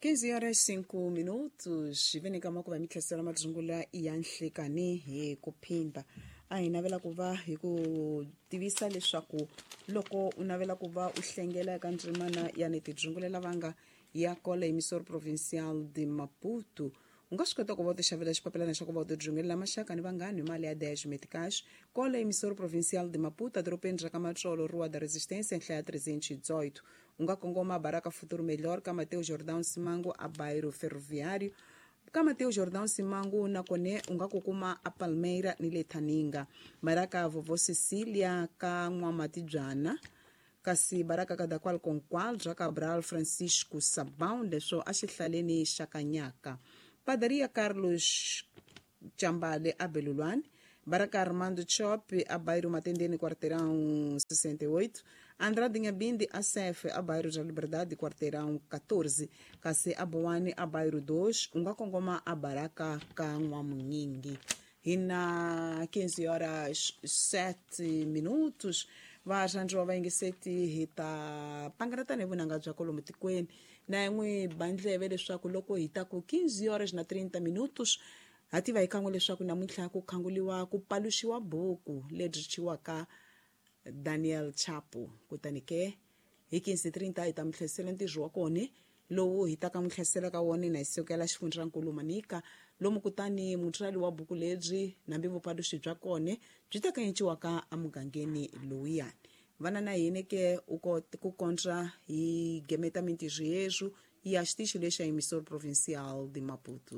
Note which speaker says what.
Speaker 1: 15 horas 5 minutos vene ka makuva mitlhasela madzungula ya nhlikani hi ku phindha. A hi navela ku va hi ku tivisa leswaku loko u navela ku va u hlengela eka ndzimana ya ni tidzungulela vanga ya kola emissor provincial de Maputo, u nga swi kota ku va u tixavela xipapilana xa ku va u tidzungulela maxaka ni vanghani hi mali ya 10 meticais. Kola emissor provincial de Maputo, edorobeni ra ka Matsolo, Rua da Resistência, nhlaya 318. U nga kongoma Baraka Futuro Melhor, ka Mateo Jordão Simango, a Bairro Ferroviário. Ka Mateo Jordão Simango nakone u nga ku kuma a Palmeira ni le Thaninga. Baraka Vovó Cecília, ka N'wamatibyana, kasi baraka Kadakwal Konkwal bya Cabral Francisco Sabão, leswo a xihlaleni xa Kanyaka. Padaria Carlos Chambale a Belulwani. Baraka Armando Chop a Bairro Matendene, quarteirão 68. Andrade Nhabinde a Sef a Bairro da Liberdade, quarteirão 14. Kasi a Boane a Bairro 2, u nga kongoma a Baraka ka N'wamunyingi. Hi na 15 horas 7 minutos, varhandziwa vayingiseti, hi ta pangana tanihi vunanga bya kolomu tikweni na yin'we bandleve leswaku loko hi ta ku 15 horas na 30 minutos, ha tiva hi kan'we leswaku namuntlha ku khanguliwa ku paluxiwa buku lebyi thyiwaka Daniel Chapo. Kutani ke hi 15:30 hi ta mi tlherisela ntirho wa kona lowu hi ta ka n'wi tlherisela ka wona na hi sukela xifundzankulu Manika lomu. Kutani mutswari wa buku lebyi nambi vupaluxi bya kona byi ta kanciwaka emugangeni lowuyani vana na hini ke u ku kondza hi gemeta mintirho yeswu ya xitichi lexa emissor provincial de Maputo.